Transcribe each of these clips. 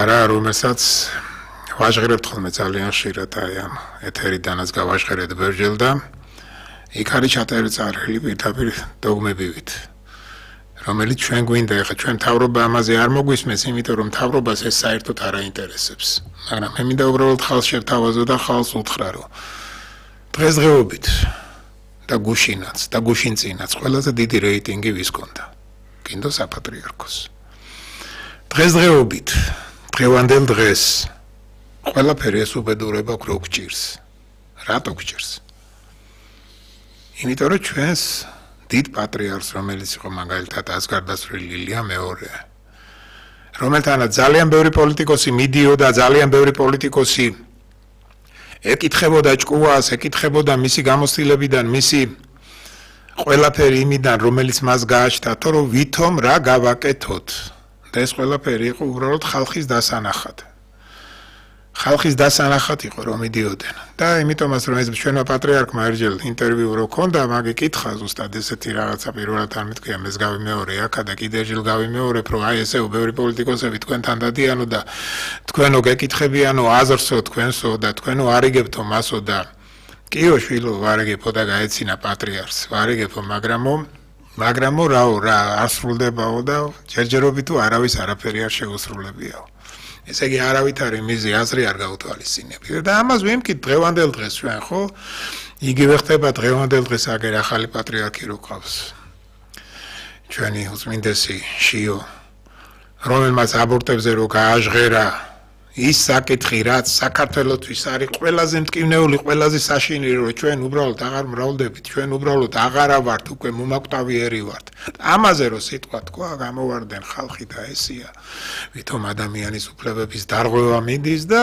არა, რომელსაც ვაჟღერებთ ხოლმე ძალიან ხშირად აი ამ ეთერიდანაც გავაჟღერეთ ბევრჯერ და იქ არის ჩაწერილი წარელი პირდაპირ დოგმებივით, რომელიც ჩვენ გვინდა, ეხლა ჩვენ მთავრობა ამაზე არ მოგვისმენს, იმიტომ რომ მთავრობას ეს საერთოდ არ აინტერესებს. მაგრამ მე მინდა უბრალოდ ხალხს შევთავაზო და ხალხს უთხრა, რომ დღესდღეობით და გუშინაც და გუშინწინაც ყველაზე დიდი რეიტინგი ვის ჰქონდა? კიდო საპატრიარქოს. დღესდღეობით დღევანდელ დღეს ყველაფერი ეს უბედურება რო გჭირს. რატო გჭირს? იმიტომ რომ ჩვენს დიდ პატრიარქს, რომელიც იყო მაგალითად ასგარდასრული ლილია მეორე, რომელთანაც ძალიან ბევრი პოლიტიკოსი მიდიოდა, ძალიან ბევრი პოლიტიკოსი ეკითხებოდა ჭკუას, ეკითხებოდა მისი გამოცდილებიდან, მისი ყველაფერი იმიდან, რომელიც მას გააჩნდა, რომ ვითომ რა გავაკეთოთ. და ეს ყველაფერი იყო უბრალოდ ხალხის დასანახად. ხალხის დასანახად იყო რომ მიდიოდნენ. და იმიტომაც რომ ეს ჩვენმა პატრიარქმა ერჯელ ინტერვიუ რო ქონდა, მაგი კითხა ზუსტად ესეთი რაღაცა პირველად არ მეთქია, მე გავიმეორე აქა და კიდე ერჯელ გავიმეორებ, რომ აი ესეო ბევრი პოლიტიკოსები თქვენთან დადიანო და თქვენო გეკითხებიანო აზრსო თქვენსო და თქვენო არიგებთო მასო და კიო შვილო ვარიგებო და გაეცინა პატრიარქს. ვარიგებო, მაგრამო რაო რა ასრულდებაო და ჯერჯერობით თუ არავის არაფერი არ შეუსრულებიაო. ესე იგი არავით არის მიზი აზრი არ გაუთვალისწინებია და ამას ვიმკით დღევანდელ დღეს ჩვენ ხო იგივე ხდება დღევანდელ დღეს აგერ ახალი პატრიარქი რო ყავს ჩვენი უწმინდესი შიო რომელმაც აბორტებზე რო გააჟღერა ის საკითხი რაც საქართველოსთვის არის ყველაზე მტკივნეული ყველაზე საშინელი რომ ჩვენ უბრალოდ აღარ მრავლდებით ჩვენ უბრალოდ აღარა ვართ უკვე მომაკვდავიერი ვართ ამაზე რო სიტყვა თქვა გამოვარდნენ ხალხი და ესია ვითომ ადამიანის უფლებების დარღვევა მიდის და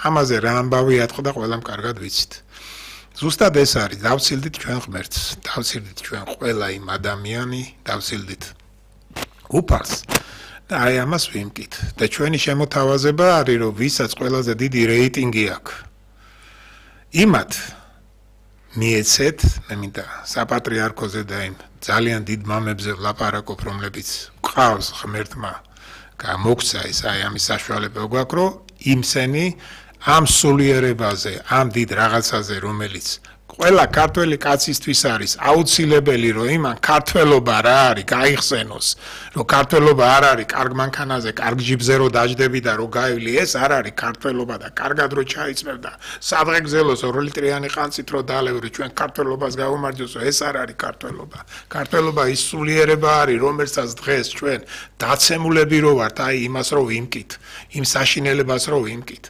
ამაზე რა ამბავი ატყდა ყველამ კარგად ვიცით ზუსტად ეს არის დავცილდით ჩვენ ღმერთს დავცილდით ჩვენ ყველა იმ ადამიანი დავცილდით უფალს და აი ამას ვიმკით და ჩვენი შემოთავაზება არის რომ ვისაც ყველაზე დიდი რეიტინგი აქვს იმათ მიეცეთ მე მინდა საპატრიარქოზე და იმ ძალიან დიდ მამებზე ვლაპარაკობ რომლებიც ყავს ღმერთმა გამოგცა ეს აი ამის საშუალება გვაქვს რომ იმსენი ამ სულიერებაზე ამ დიდ რაღაცაზე რომელიც ყველა ქართველი კაცისთვის არის აუცილებელი რომ იმან ქართველობა რა არის გაიხსენოს რომ ქართველობა არ არის კარგ მანქანაზე კარგ ჯიბზე რომ დაждები და რომ გაივლი ეს არ არის ქართველობა და კარგად რომ ჩაიწმევ და სადღე გზელოს 2 ლიტრიანი ყანწით რომ დაალევრო ჩვენ ქართველობას გავუმარჯოსო ეს არ არის ქართველობა ქართველობა ის სულიერება არის რომელსაც დღეს ჩვენ დაცემულები რო ვართ აი იმას რომ ვიმკით იმ საშინელებას რომ ვიმკით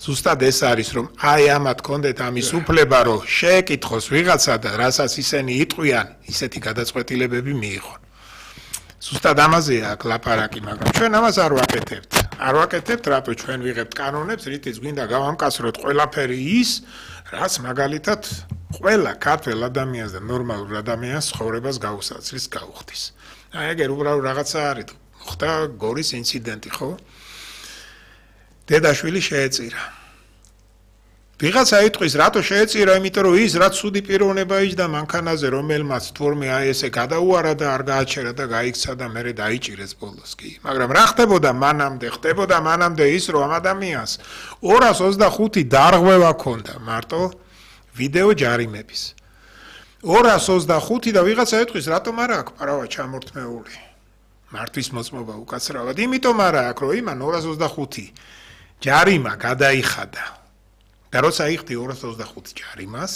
ზუსტად ეს არის რომ აი ამათ კონდეთ ამის უფლება რომ შეეკითხოს ვიღაცა და რასაც ისინი იტყვიან ისეთი გადაწყვეტილებები მიიღონ ზუსტად ამაზეა აქ ლაპარაკი მაგრამ ჩვენ ამას არ ვაკეთებთ რატო ჩვენ ვიღებთ კანონებს რითიც გვინდა გავამკაცროთ ყველაფერი ის რაც მაგალითად ყველა ქართველ ადამიანს და ნორმალურ ადამიანს ცხოვრებას გაუსაცრის გაუხდის აი ეგერ უბრალოდ რაღაცა არის ხდა გორის ინციდენტი ხო დედაშვილი შეეწირა. ვიღაცა იტყვის, რატო შეეწირა, იმიტომ რომ ის რაც ცუდი პიროვნება იჯდა მანქანაზე, რომელმაც თურმე აი ესე გადაუარა და არ გააჩერა და გაიქცა და მერე დაიჭირეს ბოლოს კი. მაგრამ რა ხდებოდა მანამდე ის რომ ამ ადამიანს 225 დარღვევა ჰქონდა მარტო ვიდეო ჯარიმების. 225 და ვიღაცა იტყვის, რატომ არა აქვს პარავა ჩამორთმეული. მართვის მოწმობა უკაცრავად, იმიტომ არა აქვს რომ იმან 225 ჯარიმა გადაიხადა და როცა იხდი 225 ჯარიმას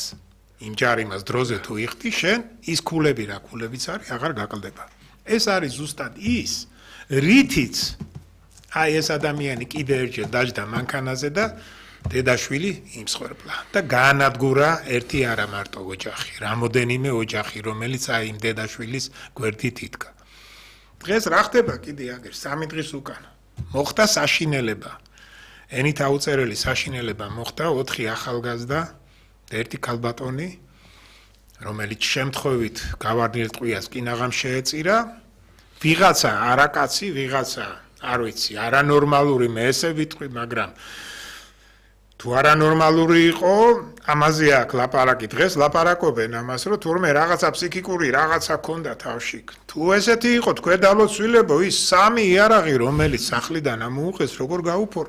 იმ ჯარიმას დროზე თუ იხდი შენ ის ქულები რა ქულებიც არის აღარ გაკლდება ეს არის ზუსტად ის რითიც აი ეს ადამიანი კიდე ერთხელ დაждდა მანქანაზე და დედაშვილი იმსხვერპლა და გაანადგურა ერთი არა მარტო ოჯახი რამოდენიმე ოჯახი რომელიც აი იმ დედაშვილის გვერდით იდგა დღეს რა ხდება კიდე აგერ 3 დღის უკან მოხდა საშინელება ენით აუწერელი საშინელება მოხდა 4 ახალგაზრდა და 1 ქალბატონი რომელიც შემთხვევით გავარდნილ ტყვიას კინაღამ შეეწირა ვიღაცა არაკაცი ვიღაცა არ ვიცი არანორმალური მე ესე ვიტყვი მაგრამ თუ არანორმალური იყო ამაზე აქ ლაპარაკი დღეს ლაპარაკობენ ამას რომ თურმე რაღაცა ფსიქიკური რაღაცა ქონდა თავში თუ ესეთი იყო თქვენ დალოცვილებო ის 3 იარაღი რომელიც სახლიდან ამოუყეს როგორ გაუფორ